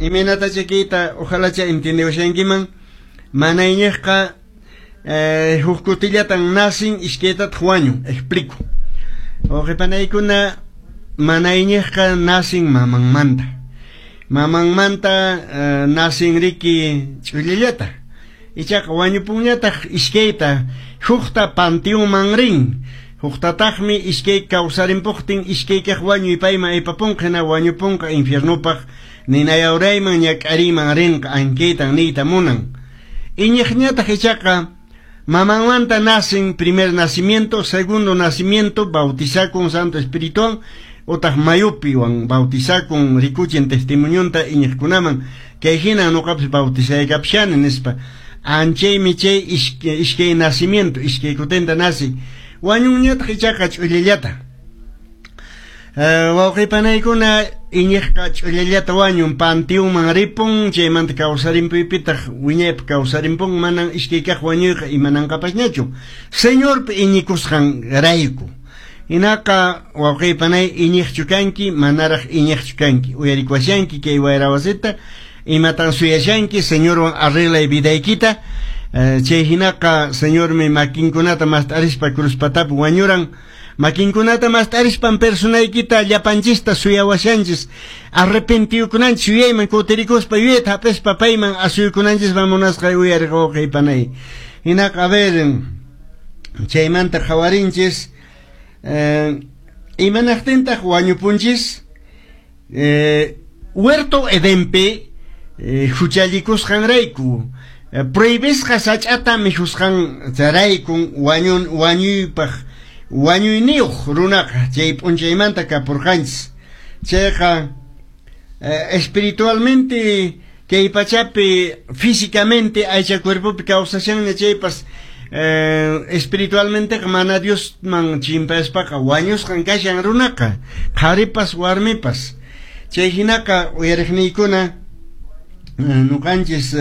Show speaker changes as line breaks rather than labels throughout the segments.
Imaynatacha kayta ojalacha entiendewashankiman, mana iñiqqa huk kutillatan nacen, iskaytataq wañun. Explico. Wawqipanaykuna, mana iñiqqa nacen mamanmanta. Mamanmanta nacen riki ch'ullallata. Ichaqa wañupunñataq iskayta, hukta panteonman rin. Huktataqmi iskay kawsarimpuqtin iskaykaq wañuy payman aypapunqa, hina wañupunqa infiernopaq ninayawrayman ñak'ariyman rinqa, ankaytan niyta munan. Iñiqñataq ichaqa mamanmanta nacen, primer nacimiento, segundo nacimiento, bautizakun Santo Espirituwan utaq mayupiwan bautizakun, rikuchin testimonionta iñiqkunaman, kay hina nuqapas bautizaykapishani nispa. Anchaymi chay iskay nacimiento, iskay kutinta nace. Wañunñataq ichaqa ch'ullallata. Wawqipanaykuna, iñiqqa ch'ullallata wañun, panteonman ripun, chaymanta kawsarimpuypitaq wiñaypaq kawsarimpun, manan iskay kaq wañuyqa imananqapasñachu. Señorpi iñikusqan rayku. Hinaqa wawqipanay, iñiqchu kanki, manaraq iñiqchu kanki. Uyarikuwashanki kay wayra wasita, imatan suyashanki, Señorwan arreglay vidaykita. Chay hinaqa Señormi makinkunata mast'arispa cruz patapi wañuran. Makinkunata mast'arispan personaykita llapanchista suyawashanchis. Arrepentiyukunanchis yuyayman kutirikuspa yuyayta hap'ispa payman asuykunanchisman munasqay uyariq wawqipanay. Hinaqa a ver, chaymanta qhawarinchis, imanaqtintaq wañupunchis? Huerto Edenpi huchallikusqanrayku, prohibisqa sach'ata mikhusqanraykun wañun wañuypaq wañuyniyuq runaqa chay p'unchaymanta kapurqanchis. Chayqa espiritualmente kay pachapi físicamente aycha cuerpopi kawsashanña chaypas, espiritualmenteqa mana Diosman chimpaspaqa wañusqan kashan runaqa, qharipas warmipas. Chay hinaqa uyariqniykuna, nuqanchis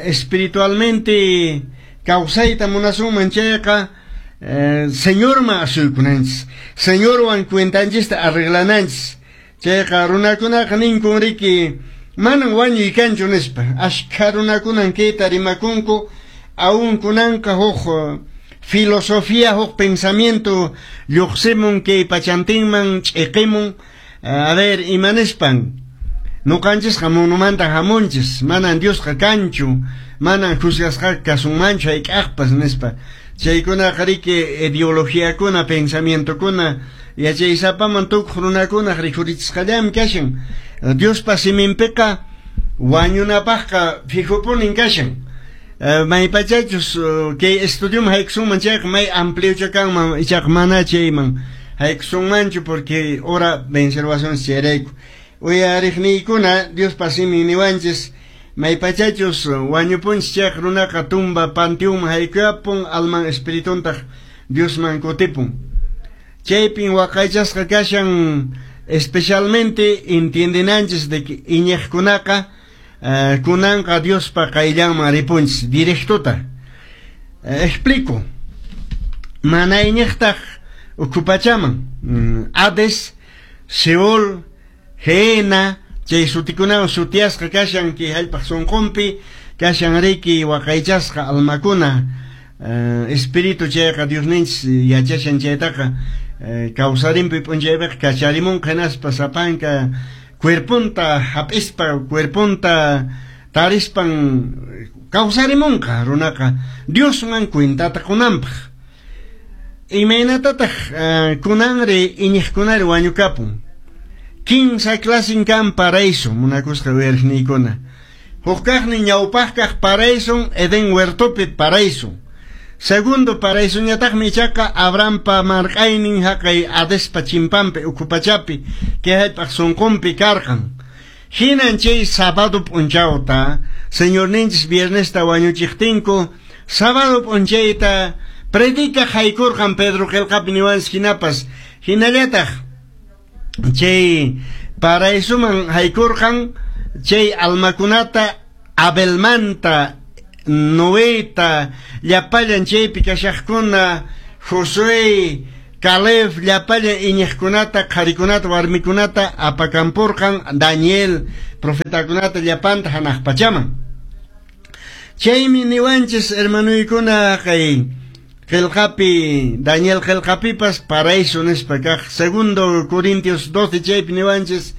espiritualmente kawsayta munasunman chayqa, Señorman asuykunanchis, Señorwan cuentanchista arreglananchis. Chayqa runakunaqa ninkun riki, manan wañuy kanchu nispa. Ashkha runakunan kayta rimakunku, aún kunanqa huk filosofía, huk pensamiento lluqsimun kay pachantinman ch'iqimun. A ver, imanispan, nuqanchisqa munumanta hamunchis, manan Diosqa kanchu, manan juzgasqa kasunmanchu hayk'aqpas nispa. Chaykunaqa riki ideologiakuna, pensamientokuna, yachaysapaman tukuq runakunaq rikhurichisqallami kashan. Diospa siminpiqa wañunapaqqa fijopunin kashan. Maypachachus kay estudioman haykusunman chayqa may ampliocha kanman, ichaqa mana chayman haykusunmanchu porque hora vencerwasunchis chayrayku. Uyariqniykuna, Diospa simin niwanchis, maypachachus wañupunchis chayqa runaqa tumba panteonman haykuyapun, alman espirituntaq Diosman kutipun. Chaypin waqaychasqa kashan, especialmente entiendenanchis de que iñiqkunaqa kunanqa Diospa qayllanman ripunchis directota. Explico. Mana iñiqtaq ukhu pachaman, Hades, Seol, Gehenna, chay sutikunawan sutiyasqa kashan kay hallp'aq sunqunpi kashan riki waqaychasqa almakuna, espíritu. Chayqa Diosninchis yachashan chaytaqa, kawsarimpuy p'unchaypiqa kacharimunqa hinaspa sapanka cuerponta hap'ispa, cuerponta tarispan kawsarimunqa runaqa Diosman cuentata qunanpaq. Imaynatataq kunanri iñiqkunari wañukapun? Kinsa clasin kan paraíso, munakusqa uyariqniykuna. Huk kaqnin ñawpaq kaq paraíso, Edén huertopi paraíso. Segundo paraísoñataqmi ichaqa Abrahampa marq'aynin haqay Hadespa chimpanpi ukhu pachapi kay hallp'aq sunqunpi karqan. Hinan chay sábado p'unchawta Señorninchis viernesta wañuchiqtinku, sábado p'unchayta predicaq haykurqan, Pedro qillqapi niwanchis hinapas, hinallataq chay paraísoman haykurqan chay almakunata Abelmanta, Noeta, llapallan chaypi kashaqkuna, Josué. Caleb llapallan iñiqkunata, qharikunata, warmikunata apakamporqan Daniel profetakunata llapanta hanaq pachaman. Chaymi niwanchis hermanuykuna kay qillqapi Daniel qillqapipas paraíso nispa kaq segundo Corintios 12 chaypi niwanchis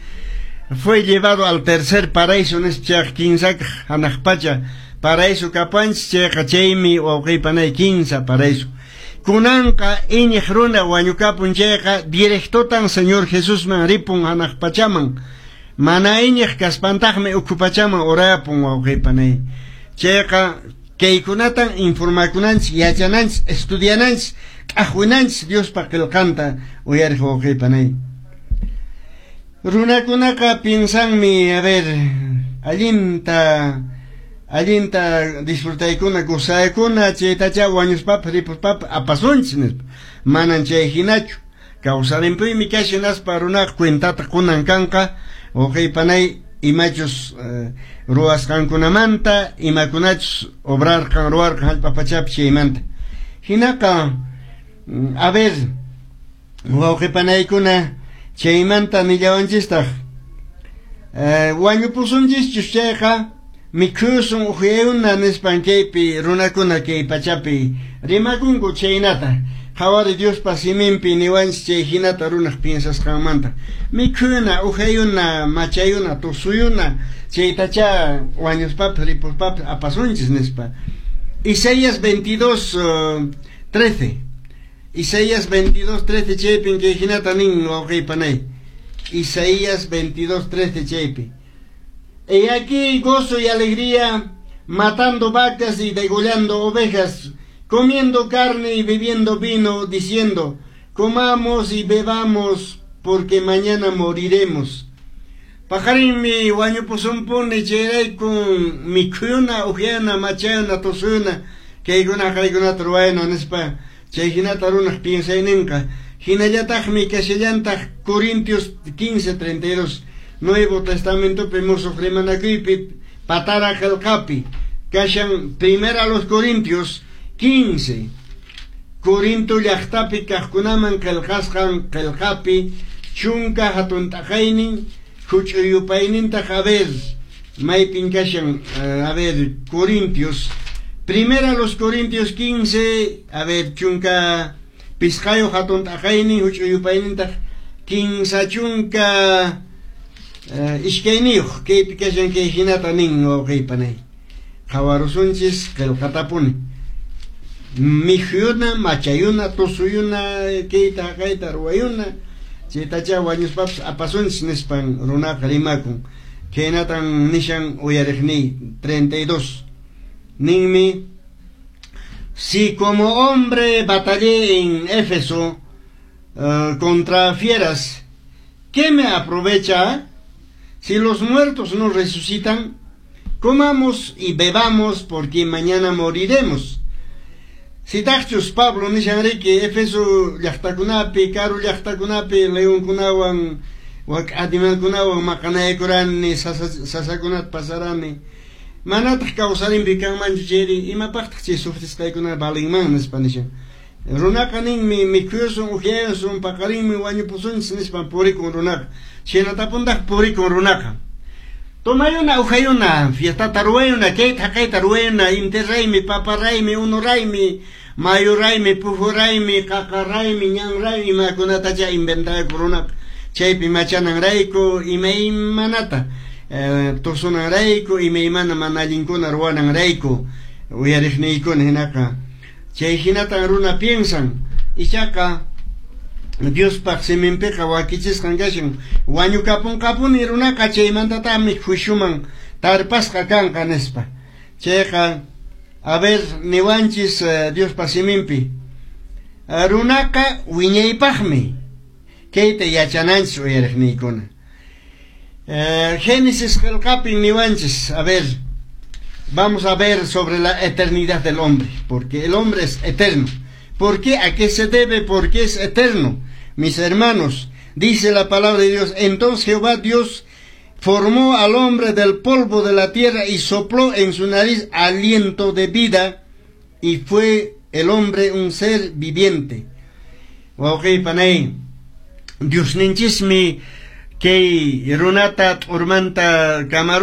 fue llevado al tercer paraíso nispa chayqa kinsakaq hanaq pacha paraíso kapanchis chayqa chaymi wawqiypanay kinsa paraíso. Kunanqa iñiq runa wañukapun chayqa directotan Señor Jesusman ripun hanaq pachaman. Mana iñiq kaspantaqmi ukhu pachaman urayapun wawqiypanay. Chayqa kaykunatan informakunanchis, yachananchis, estudiananchis, t'aqwinanchis Diospa qillqanta uyariq wawqiypanay. Runakunaqa piensanmi, a ver, allinta allinta disfrutaykuna, gozaykuna, chaytacha wañuspapas ripuspapas apasunchis nispa. Manan chay hinachu. Kawsarimpuymi kashan hinaspa runaqa cuentata qunan kanqa wawqiypanay imachus ruwasqankunamanta, imakunachus obrarqan, ruwarqan hallp'a pachapi chaymanta. Hinaqa, a ver, wawqipanaykuna chaymanta nillawanchistaq wañupusunchischus chayqa mikhusun uhyayuna nispan kaypi runakuna kay pachapi rimakunku chaynata. Qhawari Diospa siminpi niwanchis chay hinata runaq piensasqanmanta. Mikhuna, uhyayuna, machayuna, tusuyuna, chaytacha wañuspapas ripuspapas apasunchis nispa. Isaías 22, 13. Isaías 22, 13 chaypin kay hinata nin wawqiypanay. Isaías 22, 13 chaypi. He aquí gozo y alegría, matando vacas y degollando ovejas, comiendo carne y bebiendo vino, diciendo, comamos y bebamos, porque mañana moriremos. Paqarinmi wañupusunpuni chayraykun mikhuna, uhyana, machayuna, tusuyuna, kaykuna kaykunata ruwayna nispa chay hinata runaq piensayninqa. Hinallataqmi kashallantaq Corintios 15:32 Nuevo Testamentopi musuq rimanakuypi patara qillqapi kashan primera los Corintios 15 Corinto llaqtapi kaqkunaman qillqasqan qillqapi chunka hatun t'aqaynin huch'uy yupaynintaq a ver maypin kashan a ver Corintios primera los Corintios 15 a ver chunka pisqayuq hatun t'aqaynin huch'uy yupaynintaq kinsa chunka iskayniyuq kaypi kashan kay hinata nin wawqiypanay qhawarusunchis qillqatapuni mikhuyuna machayuna tusuyuna kayta haqayta ruwayuna chaytacha wañuspapas apasunchis nispan runaqa rimakun khaynatan nishan uyariqniy 32 ninmi si como hombre batallé en Éfeso contra fieras, ¿qué me aprovecha? Si los muertos no resucitan, comamos y bebamos porque mañana moriremos. Sitaqchus Pablo nishan riki Éfeso llaqtakunapi, karu llaqtakunapi leonkunawan, wak animalkunawan maqanaykurani, sasakunata pasarani. Manataq kawsarinpi kanmanchu chayri, imapaqtaq chay sufrisqaykuna valinman nispa nishan. Runaqa ninmi mikhuyusun, uhyayusun, paqarinmi wañupusunchis nispan purikun runaqa. Chhaynatapuntaq purikun runaqa. Tomayuna, uhyayuna, fiestata ruwayuna, kayta haqayta ruwayuna, inti raymi, papa raymi, unu raymi, mayu raymi, puhu raymi, qaqa raymi, ñan raymi, imakunatacha inventayku runaqa. Chaypi machananrayku, imaymanata tusunanrayku, imaymana mana allinkuna ruwananrayku, uyariqniykuna hinaqa. Chay hinatan runa piensan, ichaqa Diospaq siminpiqa wakichisqan kashan wañukapunqapuni runaqa chaymantataqmi juiciuman tarpasqa kanqa nispa. Chayqa a ver niwanchis Diospa siminpi runaqa wiñaypaqmi kayta yachananchis uyariqniykuna. Génesis qillqapin niwanchis, a ver, vamos a ver sobre la eternidad del hombre, porque el hombre es eterno. ¿Por qué? ¿A qué se debe? Porque es eterno. Mis hermanos, dice la palabra de Dios, entonces Jehová Dios formó al hombre del polvo de la tierra y sopló en su nariz aliento de vida, y fue el hombre un ser viviente. Wawqiy panay, Diosninchismi kay runata t'urmanta kamaruspa.